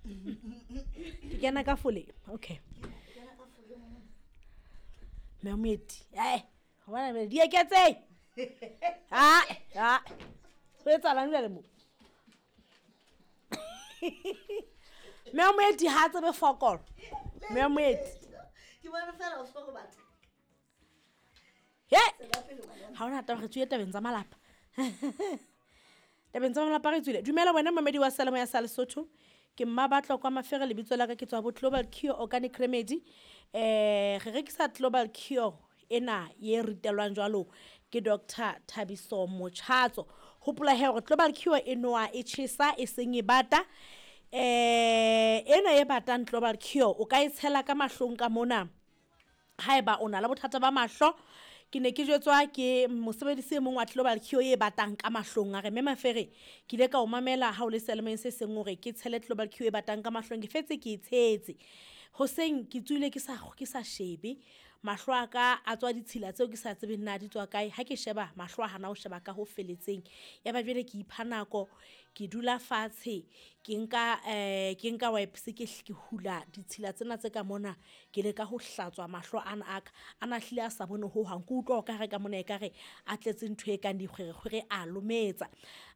Ke kena ka foleng. Okay. Mme Moeti, ee, gobana bjale di eketseng. Ae, ae. Go etsahalang jale mo? Mme Moeti ha a tsebe fokolo. Mme Moeti. Ke bone fela o se go batla. He! Ga ona taba re tswile tabeng tsa malapa. Tabeng tsa malapa re tswile. Dumela wena mamedi wa Seyalemoya ya sa Lesotho. Ke mma batlo kwa Mafere lebitso la ka ke tswa bo Global Cure Organic Remedy. Re rekisa Global Cure ena ye ritelwang jwalo ke Dr. Thabiso Mochatso. Hopola he hore Global Cure e noa e tjhesa e seng e bata. Ena e batang Global Cure o ka e tshela ka mahlong ka mona. Haeba o na le bothata ba mahlo, ke ne ke jwetswa ke mosebedisi e mong wa Global Cure e batang ka mahlong. A re, Mme Mafere, ke ile ka o mamela ha o le seyalemoyeng se seng hore ke tshele Global Cure e batang ka mahlong. Ke fetse ke e tshetse. Hoseng ke tsohile ke sa ke sa shebe. Mahlo a ka a tswa ditshila tseo ke sa tsebeng na di tswa kae. Ha ke sheba, mahlo a hana ho sheba ka ho feletseng. Ya ba jwale ke ipha nako, ke dula fatshe, ke nka ke nka wipes ke ke hula ditshila tsena tse ka mona. Ke leka ho hlatswa mahlo ana a ka. A na hlile a sa bone ho hang. Ke utlwa o ka re ka mona ekare a tletse ntho e kang dikgwerekgwere a lometsa.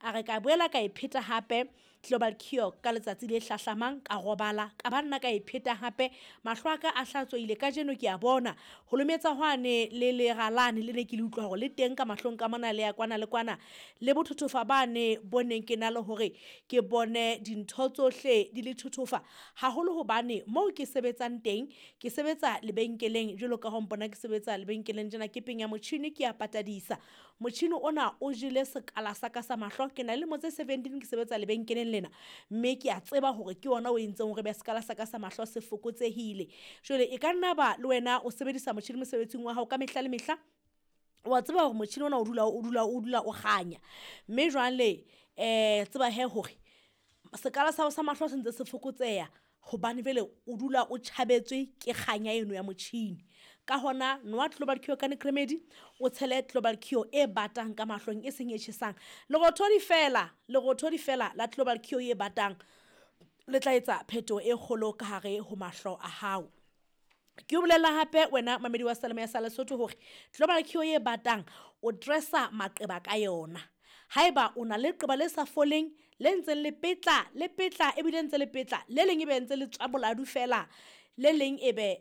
A re ka boela ka e pheta hape Global Cure ka letsatsi le hlahlamang ka robala ka ba nna ka e pheta hape. Mahlo a ka a hlatswehile kajeno ke a bona. Ho lometsa hwane le lera lane le ne ke le utlwa hore le teng ka mahlong ka mona le ya kwana le kwana. Le bothothofa bane bo neng ke na le hore ke bone dintho tsohle di le thothofa. Haholo hobane moo ke sebetsang teng, ke sebetsa lebenkeleng jwalo ka ha o mpona ke sebetsa lebenkeleng tjena ke penya motjhini ke a patadisa. Motjhini ona o jele sekala sa ka sa mahlo. Ke na le lemo tse 17 ke sebetsa lebenkeleng lena. Mme ke a tseba hore ke ona o entseng hore be sekala sa ka sa mahlo se fokotsehile. Jwale e ka nna ba le wena o sebedisa motjhini mosebetsing wa hao ka mehla le mehla. Wa tseba hore motjhini ona o dula o dula o dula o kganya. Mme jwale tseba he hore sekala sa hao sa mahlo se ntse se fokotseha hobane jwale o dula o tjhabetswe ke kganya eno ya motjhini. Ka hona nowa Global Cure Organic Remedy, o tshele Global Cure e batang ka mahlong e seng e tjhesang. Lerothodi fela, lerothodi fela la Global Cure e batang le tla etsa phetoho e kgolo ka hare ho mahlo a hao. Ke o bolella hape wena mamedi wa Seyalemoya sa Lesotho hore Global Cure e batang o dressa maqeba ka yona. Haeba o na le leqeba le sa foleng, le ntseng le petla, le petla ebile ntse le petla, le leng ebe ntse le tswa boladu fela, le leng ebe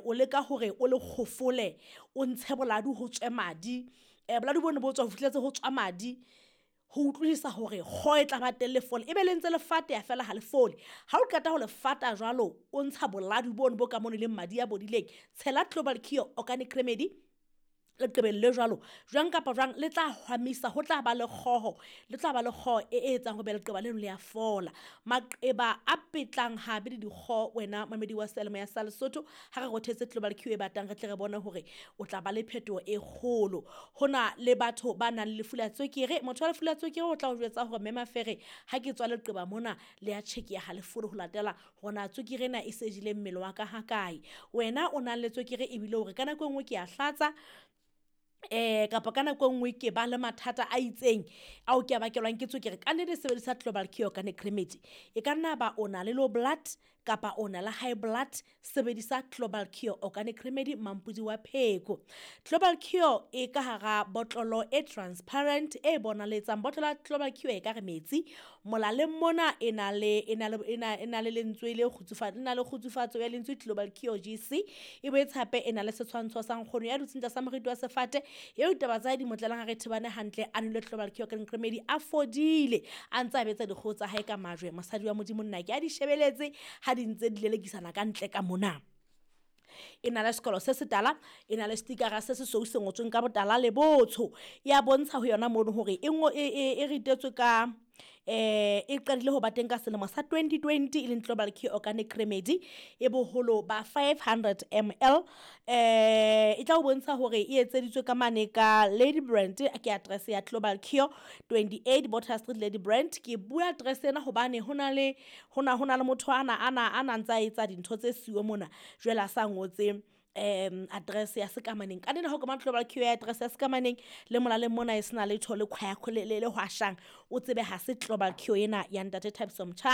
o leka hore o le kgofole, o ntshe boladu ho tswe madi. Boladu bono bo tswa ho fihletse ho tswa madi. Ho utlwisisa hore kgo e tla ba teng le fole. Ebe le ntse le fateha fela ha le fole. Ha o qeta ho le fata jwalo, o ntsha boladu bono bo ka mono leng madi a bodileng. Tshela Global Cure Organic Remedy leqebeng le jwalo. Jwang kapa jwang le tla hwamisa, ho tla ba le kgoho, le tla ba le kgoho e etsang hore leqeba leno le a fola. Maqeba a petlang hape le dikgoho wena mamedi wa Seyalemoya sa Lesotho. Ha re rothetse Global Cure e batang re tle re bone hore o tla ba le phetoho e kgolo. Hona le batho ba nang le lefu la tswekere. Motho wa lefu la tswekere o tla o jwetsa hore Mme Mafere ha ke tswa leqeba mona le ya tjhekeha ha le fole ho latela hore na tswekere ena e se jele mmele wa ka hakae. Wena o nang le tswekere ebile hore ka nako e nngwe ke a hlatsa, kapa ka nako e nngwe ke ba le mathata a itseng ao ke a bakelwang ke tswekere. Ka nnete sebedisa Global Cure Organic Remedy. E ka nna ba o na le low blood kapa o na le high blood, sebedisa Global Cure Organic Remedy mampodi wa pheko. Global Cure e ka hara botlolo e transparent e bonaletsang. Botlolo ya Global Cure e ka re metsi. Molaleng mona e na le e na le e na e na le lentswe le e na le kgutsufatso ya lentswe Global Cure GC. E boetse hape e na le setshwantsho sa nkgono ya dutseng tlasa moriti wa sefate. Eo ditaba tsa hae di mo tlelang ha re thebane hantle, a nwele Global Cure Organic Remedy a fodile. A ntse a betsa dikgoho tsa hae ka majwe. Mosadi wa Modimo nna ke a di shebeletse ha di ntse di lelekisana ka ntle ka mona. E na le sekolo se setala, e na le stikara se sesweu se ngotsweng ka botala le botsho. Ya bontsha ho yona mono hore e ngo e ritetswe ka e qadile ho ba teng ka selemo sa 2020 e leng Global Cure Organic Remedy e boholo ba 500 ml. E tla o bontsha hore e etseditswe ka mane ka Lady Brand, ke address ya Global Cure 28 Botha Street Lady Brand. Ke bua address ena hobane hona le hona hona le motho ana ana ana ntsa etsa dintho tse siyo mona jwale a sa ngotse address ya sekamaneng. Ka nnete ha o ka Global Cure ya address ya sekamaneng le molaleng mona e sena letho le khwaya le le hwashang, o tsebe ha se Global Cure ena ya ntate Thabiso Motjha.